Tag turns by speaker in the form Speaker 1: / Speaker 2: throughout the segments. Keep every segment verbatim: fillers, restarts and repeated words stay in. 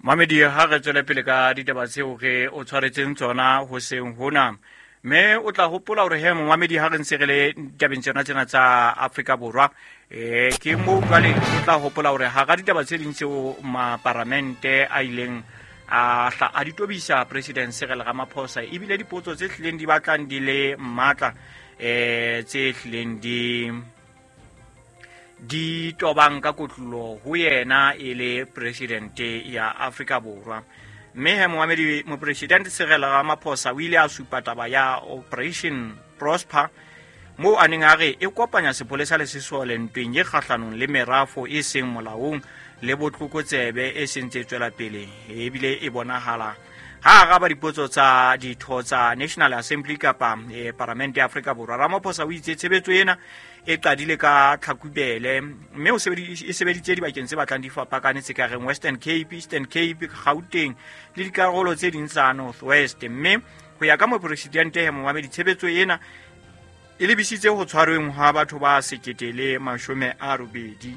Speaker 1: Mamedi, ha re tswele pele ka ditaba tseo re o tshwaretseng tsona hoseng hona. Mme o tla hopola hore he momamedi, ha re ntse re le ditabeng tsena tsena tsa Afrika Borwa, eh ke moo jwale o tla hopola hore hara ditaba tse ding tseo maparamente a ileng a hla a di tobisa President Cyril Ramaphosa, ebile dipotso tse hlileng di batlang di le matla, eh tse hlileng di di tobang ka kotlolo ho yena e le presidente ya Afrika Borwa. Mme he momamedi, mopresidente Cyril Ramaphosa o ile a supa taba ya Operation Prosper, moo a neng a re e kopanya sepolesa le sesole ntweng e kgahlanong le merafo e seng molaong le botlokotsebe e seng tse tswela pele, ebile e bonahala. Ha araba dipotso tsa ditho tsa National Assembly kapa eh, Paramente ya Afrika Borwa, Ramaphosa o itse tshebetso ena e qadile ka Tlhakubele, mme o sebedi- e sebeditse dibakeng tse batlang di fapakane tse ka reng Western Cape, Eastern Cape, Gauteng le dikarolo tse ding tsa North West. Mme ho ya ka mopresidente he momamedi, tshebetso ena e lebisitse ho tshwarweng ha batho ba sekete le mashome a robedi,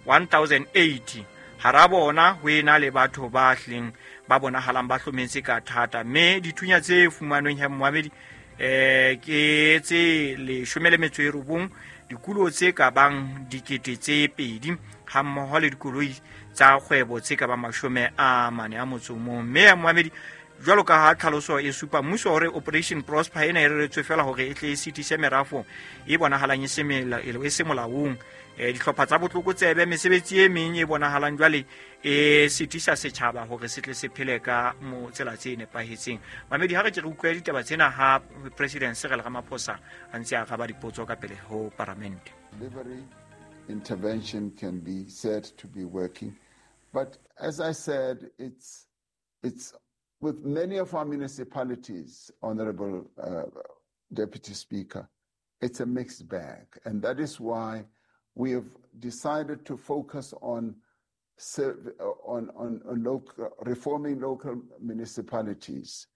Speaker 1: one thousand eighty, hara bona ho ena le batho ba hlileng ba bonahalang ba hlometse ka thata. Mme dithunya tse fumanweng he momamedi, eh ke tse leshome le metso e robong, dikulo tse ka bang dikete tse pedi, ha mmoho le dikoloi tsa kgwebo tse ka bang mashome a mane a motso o mong. Mme ya momamedi, jwalo ka ha tlhaloso e supa, mmuso hore Operation Prosper ena e reretswe fela hore e tle e sitise merafo e bonahalang e se mela- e se molaong, eh, dihlopha tsa botlokotsebe, mesebetsi e meng e bonahalang jwale e sitisa setjhaba hore se tle se phele ka mo tsela tse nepahetseng. Mamedi, ha re ke re utlwe ditaba tsena ha President Cyril Ramaphosa a ntse a araba dipotso ka pele ho paramente.
Speaker 2: Delivery intervention can be said to be working. But as I said, it's, it's with many of our municipalities, Honorable uh, Deputy Speaker, it's a mixed bag. And that is why we have decided to focus on, on, on, on local, reforming local municipalities,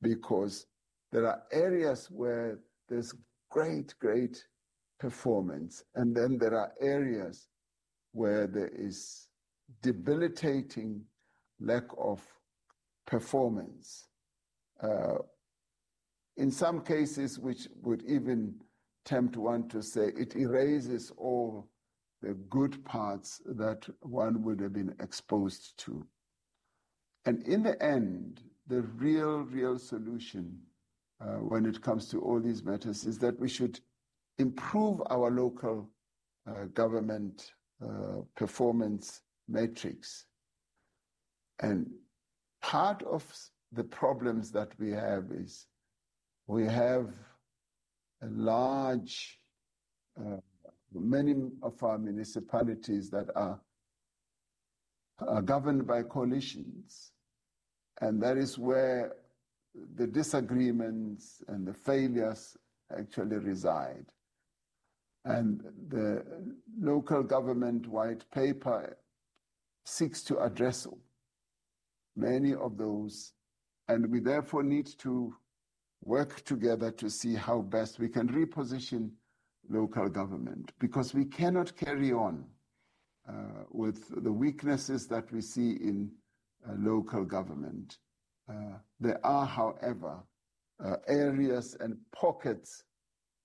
Speaker 2: because there are areas where there's great, great performance. And then there are areas where there is debilitating lack of performance. Uh, in some cases, which would even tempt one to say it erases all the good parts that one would have been exposed to. And in the end, the real, real solution uh, when it comes to all these matters is that we should improve our local uh, government uh, performance matrix. And part of the problems that we have is we have a large, uh, many of our municipalities that are, are governed by coalitions. And that is where the disagreements and the failures actually reside. And the local government white paper seeks to address many of those. And we therefore need to work together to see how best we can reposition local government, because we cannot carry on uh, with the weaknesses that we see in uh, local government. Uh, there are, however, uh, areas and pockets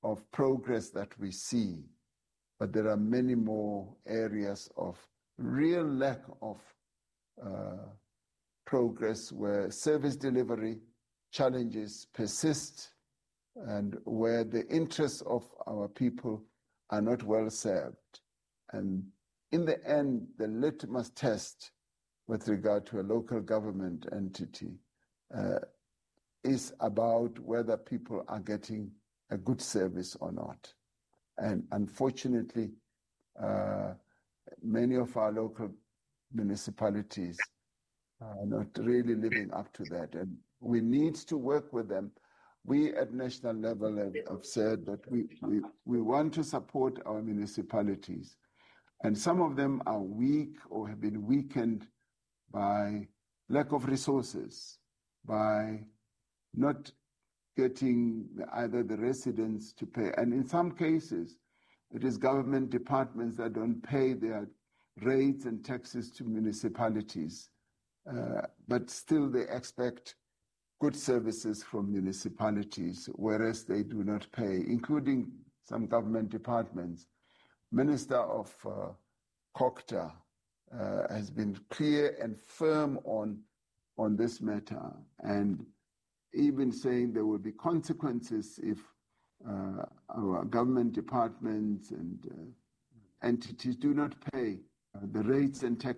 Speaker 2: of progress that we see, but there are many more areas of real lack of uh, progress where service delivery challenges persist and where the interests of our people are not well served. And in the end, the litmus test with regard to a local government entity uh, is about whether people are getting a good service or not. And unfortunately, uh, many of our local municipalities are not really living up to that. And we need to work with them. We at national level have, have said that we, we, we want to support our municipalities. And some of them are weak or have been weakened by lack of resources, by not getting either the residents to pay. And in some cases, it is government departments that don't pay their rates and taxes to municipalities. Uh, but still they expect good services from municipalities, whereas they do not pay, including some government departments. Minister of uh, COGTA uh, has been clear and firm on, on this matter, and even saying there will be consequences if uh, our government departments and uh, entities do not pay uh, the rates and taxes.